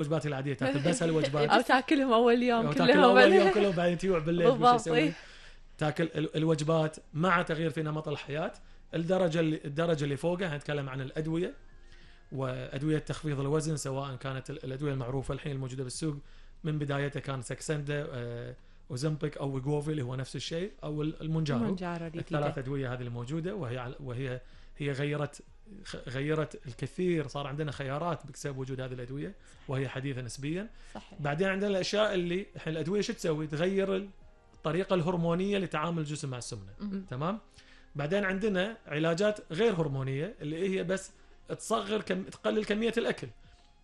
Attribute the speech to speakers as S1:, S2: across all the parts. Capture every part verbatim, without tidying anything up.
S1: وجباتي العادية تاكل بس هالوجبات
S2: أو تاكلهم أول يوم
S1: أو
S2: كلهم
S1: تاكل أول يوم كلهم بعدين تيوع بالليل وش
S2: بالضبط.
S1: يسوي تاكل الوجبات مع تغيير في نمط الحياة. الدرجة اللي الدرجة اللي فوقها هنتكلم عن الأدوية وأدوية تخفيض الوزن، سواء كانت الأدوية المعروفة الحين الموجودة بالسوق من بدايتها كان ساكسندا أوزمبيك أو ويغوفي اللي هو نفس الشيء، أو المونجارو. الثلاث أدوية هذه الموجودة، وهي وهي هي غيرت غيرت الكثير، صار عندنا خيارات بسبب وجود هذه الأدوية وهي حديثة نسبيا.
S2: صحيح.
S1: بعدين عندنا الأشياء اللي الحين الأدوية شو تسوي؟ تغير الطريقة الهرمونية لتعامل الجسم مع السمنة. م- تمام. بعدين عندنا علاجات غير هرمونية اللي هي بس تصغر كم تقلل كمية الأكل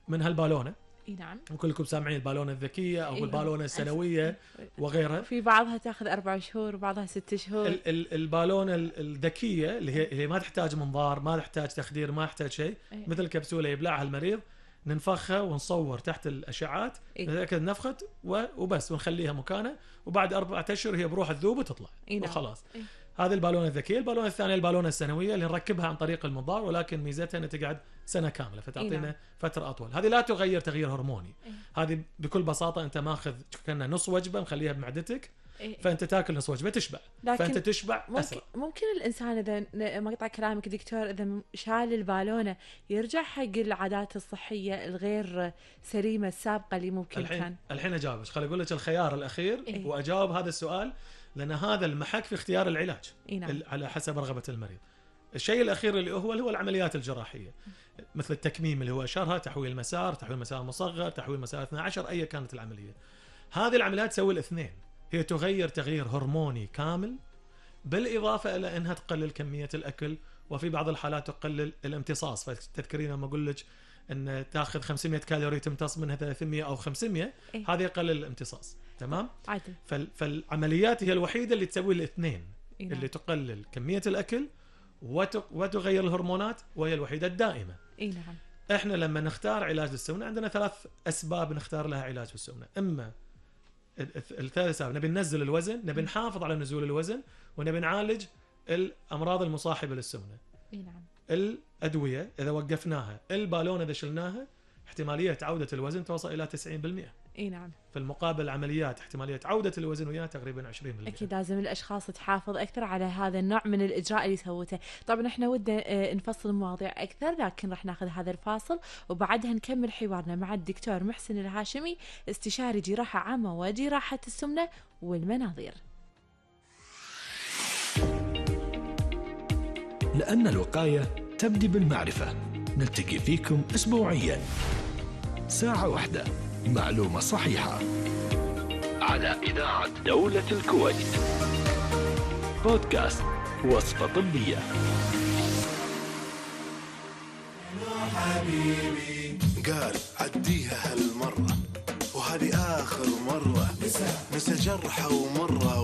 S1: من هالبالونة.
S2: نعم.
S1: وكلكم سامعين البالونة الذكية أو البالونة السنوية وغيرها.
S2: في بعضها تأخذ أربع شهور وبعضها ست شهور.
S1: ال- ال- البالونة الذكية اللي هي, هي ما تحتاج منظار، ما تحتاج تخدير، ما تحتاج شيء، مثل كبسولة يبلعها المريض، ننفخها ونصور تحت الأشعات نتأكد نفخت وبس ونخليها مكانه، وبعد أربعة أشهر هي بروح الذوب وتطلع وخلاص. هذه البالونة الذكية. البالونة الثانية البالونة السنوية اللي نركبها عن طريق المنظار، ولكن ميزتها أنها تقعد سنة كاملة فتعطينا فترة أطول. هذه لا تغير تغيير هرموني. هذه بكل بساطة أنت ماخذ كنا نص وجبة مخليها بمعدتك، فأنت تاكل نص وجبة تشبع، فأنت تشبع
S2: ممكن
S1: أسرع.
S2: ممكن الإنسان إذا ما قطع كلامك دكتور، إذا شال البالونة يرجع حق العادات الصحية الغير سليمة السابقة اللي ممكن
S1: الحين
S2: كان.
S1: الحين أجاوبك، خلي أقول لك الخيار الأخير
S2: إيه؟
S1: وأجاوب هذا السؤال، لأن هذا المحك في اختيار العلاج.
S2: إيه نعم.
S1: على حسب رغبة المريض. الشيء الأخير اللي هو هو العمليات الجراحية، مثل التكميم اللي هو أشهرها، تحويل مسار، تحويل مسار مصغر، تحويل مسار اثنا عشر، أي كانت العملية. هذه العمليات تسوي الاثنين، هي تغير تغيير هرموني كامل، بالإضافة إلى أنها تقلل كمية الأكل، وفي بعض الحالات تقلل الامتصاص. فتذكرين لما أقول لك أن تأخذ خمسمية كالوري تمتص منها ثلاثمية أو خمسمية،
S2: إيه؟
S1: هذا يقلل الامتصاص. تمام.
S2: عادل.
S1: فال... فالعمليات هي الوحيدة اللي تسوي الاثنين.
S2: إيه؟
S1: اللي تقلل كمية الأكل وت... وتغير الهرمونات، وهي الوحيدة الدائمة.
S2: إيه نعم.
S1: إحنا لما نختار علاج للسمنة عندنا ثلاث أسباب نختار لها علاج السمنة. إما الثلاث أسباب، نبي ننزل الوزن، نبي نحافظ على نزول الوزن، ونبي نعالج الأمراض المصاحبة للسمنة.
S2: إيه نعم.
S1: الأدوية إذا وقفناها، البالونة إذا شلناها، احتمالية عودة الوزن توصل إلى تسعين بالمئة.
S2: إيه نعم.
S1: في المقابل العمليات احتمالية عودة الوزن وياها تقريبا عشرين بالمئة.
S2: أكيد لازم الأشخاص تحافظ أكثر على هذا النوع من الإجراء اللي سوته. طبعا إحنا ودنا نفصل المواضيع أكثر، لكن راح ناخذ هذا الفاصل وبعدها نكمل حوارنا مع الدكتور محسن الهاشمي، استشاري جراحة عامة وجراحة السمنة والمناظير.
S3: لأن الوقاية تبدأ بالمعرفة. نلتقي فيكم أسبوعيا ساعة واحدة، معلومة صحيحة، على إذاعة دولة الكويت. بودكاست وصفة طبية.
S4: حبيبي قال عديها هالمرة، وهذه آخر مرة، نسى جرحه ومرة.